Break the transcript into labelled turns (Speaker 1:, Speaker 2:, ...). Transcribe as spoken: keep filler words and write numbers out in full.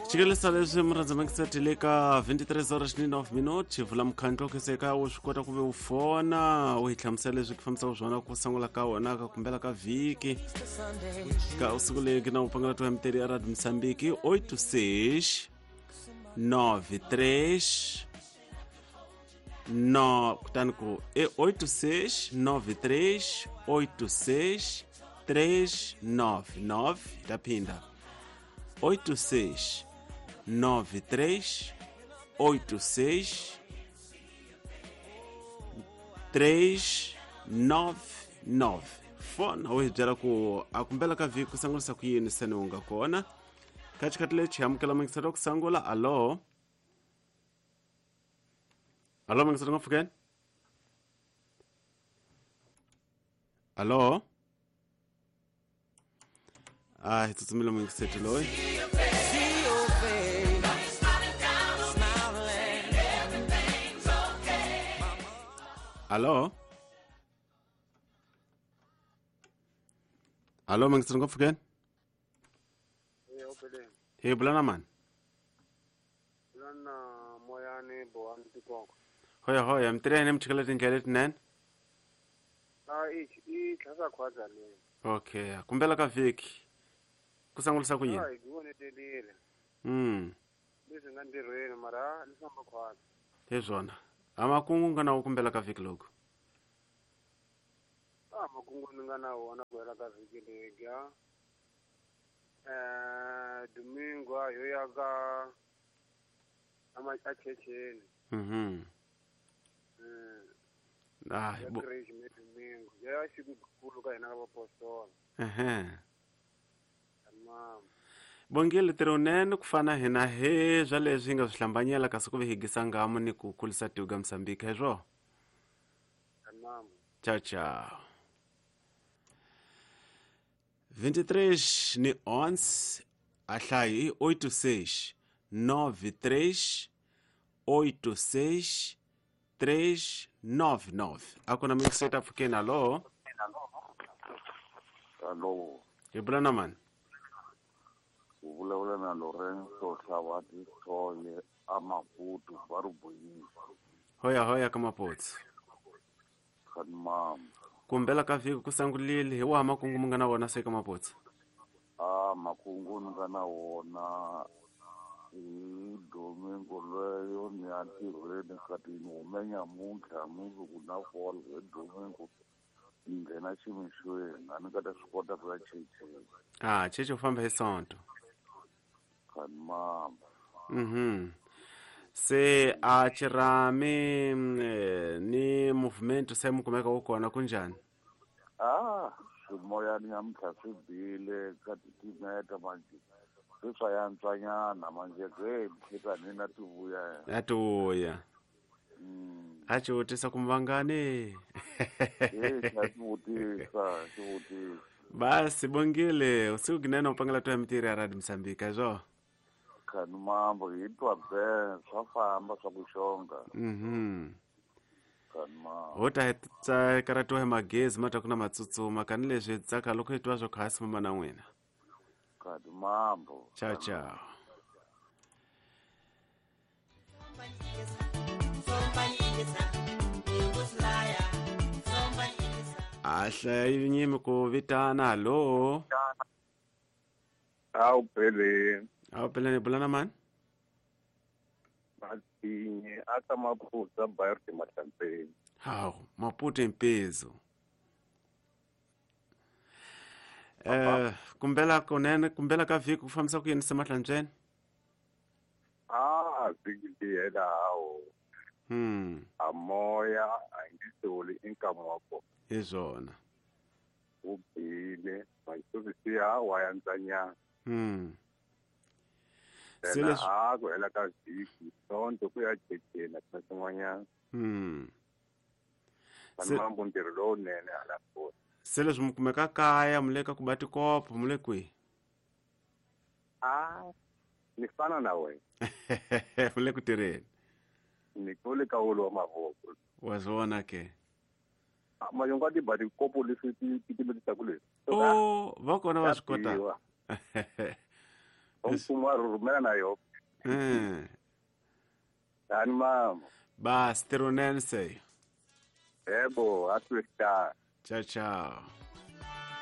Speaker 1: Xikelesa leswi murhandza mangisati le ka twenty-three horas ni nine minutes vula mukhandlo khe wu swi kota ku ve u fona u hi hlamusela leswi ku fambisaka swona ku sungula ka wona ka kumbela ka vhiki ka usiku leki na u pangela to M T ya Radio Mozambique eight six nine three no kutani ku e eight six nine three eight six three nine nine taphinda eight six nine three eight six three nine nine fona u hi byela ku a kumbela ka vhiki ku sangulisa ku yini seni u nga kona ka xikhathi lexi hi amukela mangiselo ku sangula. Alo, alo, mangiselo ngopfukeni. Alo, a hi tsutsumile mungiseti loyi.
Speaker 2: See your face smiling.
Speaker 1: Alo, alo, mangiselo ngopfukeni.
Speaker 3: Eh, opeleni.
Speaker 1: Hi bula na mani?
Speaker 3: Lana moyani bohani tikoko.
Speaker 1: Hoya hoya, mitirheni mi chikela tindlela letinene.
Speaker 3: A i i tlhasa khwaza le.
Speaker 1: Okay, kumbela ka vhiki ku sangulisa ku yini?
Speaker 3: A hi vonetelile.
Speaker 1: mm
Speaker 3: Leswi nga ntirhweni mara leswi famba khwaza.
Speaker 1: Hi swona, a makungu nga na wo kumbela ka vhiki loko?
Speaker 3: A makungu ni nga na wona ku hela ka vhiki legi a. Eh, domingo a yo ya ka ama a checheni.
Speaker 1: mhm
Speaker 3: Mm.
Speaker 1: Ah,
Speaker 3: Ya
Speaker 1: bo
Speaker 3: creche me domingo. Ya siku kulu ka hina ka vapostola.
Speaker 1: Ehe.
Speaker 3: Mama.
Speaker 1: Bongile tirhunene ku fana hina he swa leswi hi nga swi hlambanyela kasi ku ve higisa ngamu ni ku kulisa tiko ka Mozambique hi swona.
Speaker 3: Mama.
Speaker 1: Ciao ciao. vinte e três ni onze a hlayo i eight six nine three eight six three nine nine. A ku na mixeta pfukeni. Alo.
Speaker 4: Alo.
Speaker 1: Hi bula na mani?
Speaker 4: U vulavula na Lorenzo Hlavati Thoye a Maputo va ri boyisa.
Speaker 1: Hoya hoya ka Mapotsi.
Speaker 4: Khanimama.
Speaker 1: Kumbela ka vhiki ku sangulile hi waha makungu mu nga na wona se ka Mapotsi?
Speaker 4: A makungu ni nga na wona hi domingo leyo ni ya ntirhweni kati ni hume nyamuntlha mundzuku na fola hi domingo ni nghena ximixweni a ni nga ta swi kota ku ya checheni.
Speaker 1: Ah, cheche u famba hi sonto.
Speaker 4: Khanimama.
Speaker 1: mhm se a chirami mm, eh, ni movement se mu kumeka wu kona kunjhani?
Speaker 4: A swimoyani nyamuntlha swi bile ka titimeta manje se swa yantswanyana manje ke mkhitani na ti vuya.
Speaker 1: A ti vuya.
Speaker 4: Mm.
Speaker 1: A ci vutisa ku muvangani.
Speaker 4: E xa xivutisa xivutisa.
Speaker 1: Basi bongile usiku kinene u pangela to ya mitirho ya Radio Mozambique hi swona.
Speaker 4: Khani mambo hi twa be swa famba swa ku xonga.
Speaker 1: mhm
Speaker 4: Khani mambo.
Speaker 1: Ho ta hi tsakaratiwa hi magezi ma ta ku na matsutsuma kani leswi hi tsaka loko hi twa swo khasi mama na n'wina.
Speaker 4: Khani mambo.
Speaker 1: Ciao ciao. A hlaya nyimi ku vitana. Hallo.
Speaker 5: Awu peleni.
Speaker 1: A wu peleni, bula na mani?
Speaker 5: Matinye aka Maputo bairro de Mahlampeni.
Speaker 1: Hawu, Maputo impezo eh kumbela kunene kumbela ka vhiki ku fambisa ku yini se Mahlantsweni?
Speaker 5: Ah, vhiki leyi hela hawo.
Speaker 1: hmm
Speaker 5: A moya a nge soli i nkamu wa kona.
Speaker 1: Hi swona.
Speaker 5: Wu bile masovisi ha wa yantsanyana.
Speaker 1: hmm se
Speaker 5: Then
Speaker 1: leswi
Speaker 5: a ku hela ka vhiki sonto ku ya checheni na swin'wanyana.
Speaker 1: hmm
Speaker 5: Vanhu
Speaker 1: Se-
Speaker 5: mambo ntirho lowunene hala kona.
Speaker 1: Se leswi mi kumeka kaya mu le ka ku ba tikopo mu le kwihi?
Speaker 5: A ni fana na wena.
Speaker 1: Mu le ku tirheni.
Speaker 5: Ni kule ka wolo wa mavoko.
Speaker 1: Wa swona ke.
Speaker 5: Mayongo a ti ba tikopo leswi ti titimetisaku leswi.
Speaker 1: O va kona va swi kotaka.
Speaker 5: Mfumo wa rhumela na yo.
Speaker 1: Mm.
Speaker 5: Tani mama.
Speaker 1: Bas tirunene se.
Speaker 5: Yebo, atwesta.
Speaker 1: Ciao ciao.